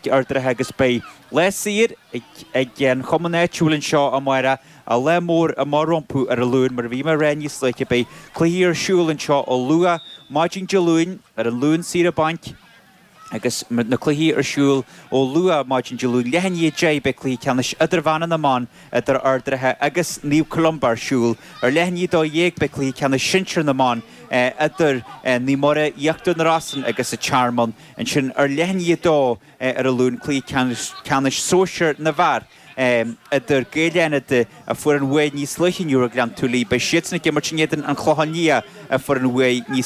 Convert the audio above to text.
ag Ard an Rátha agus beidh lá saor ag an chumann áitiúil anseo amárach, lá mór amach rompu ar an Luan. Mar a bhí mé a rá níos luaithe, beidh cluichí ar siúl anseo ó luath maidin Dé Luain, ar an Luan saoire bainc, agus na cluichí ar siúl ó luath maidin Dé Luain, leath i ndiaidh 10 beidh cluiche ceannais idirmheánach na mban idir Ard an Rátha agus Naomh Columba ar siúl. Ar leath i ndiaidh 12 beidh cluiche ceannais sinsir na mban idir Naomh Muire, Íochtar na Rosann agus an Tearmann. Ansin ar leath i ndiaidh 2 ar an Luan cluiche ceannais sóisir na bhfear idir Gaeil Fhánada a fuair an bhuaidh níos luaithe inniu ar Ghleann tSúilí. Beidh siadsan ag imirt in éadan an Chlocháin Liath a fuair an bhuaidh níos.